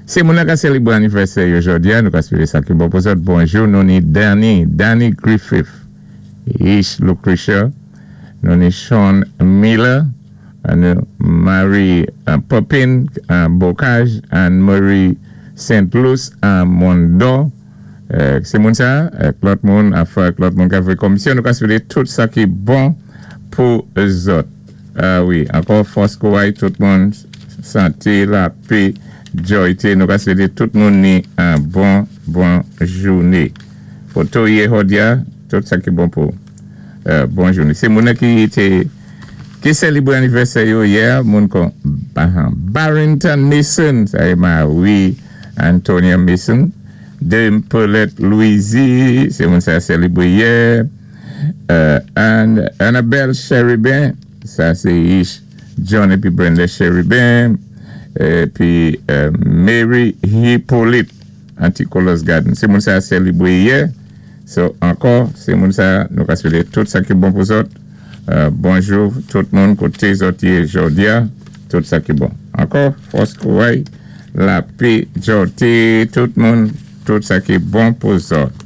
Sé moun ka sélibwé anivèsè yo jòdi-a, nou ka swété sa ki bon pou zòt. Bonjou, nou ni Danny, Danny Griffith, Ish Lucretia, nou ni Sean Miller, nou Marie Popin Bocage, Anne Marie Saint Louis Mondor. Sé moun sa, ak lòt moun, anfen ak lòt moun ka fè komisyon, nou ka swété tout sa ki bon pou zòt. Ah wi, ankò fòs kouray tout moun, santé, lapé, djòyté, nou ka swété tout moun ni an bon bon jouné. Foto yé jòdi-a, tout sa ki bon pou bon jouné. Sé moun ki té ki sélibwé anivèsè yo yè, moun kon Barrington Mason, sa é mari Antonia Mason, de Paulette Louisy, sé moun sa sélibwé yè. Annabelle Cherubin, sa sé Ish John épi Brenda Cherubin, épi Mary Hippolyte Anticolos Garden. Sé moun sa sélibwé yè. So, ankò, sé moun sa nou ka swété tout sa ki bon pou zòt. Bonjou tout moun koté zòt yé jòdi-a, tout sa ki bon. Ankò, fòs kouray, lapé, djòté, tout moun, tout sa ki bon pou zòt.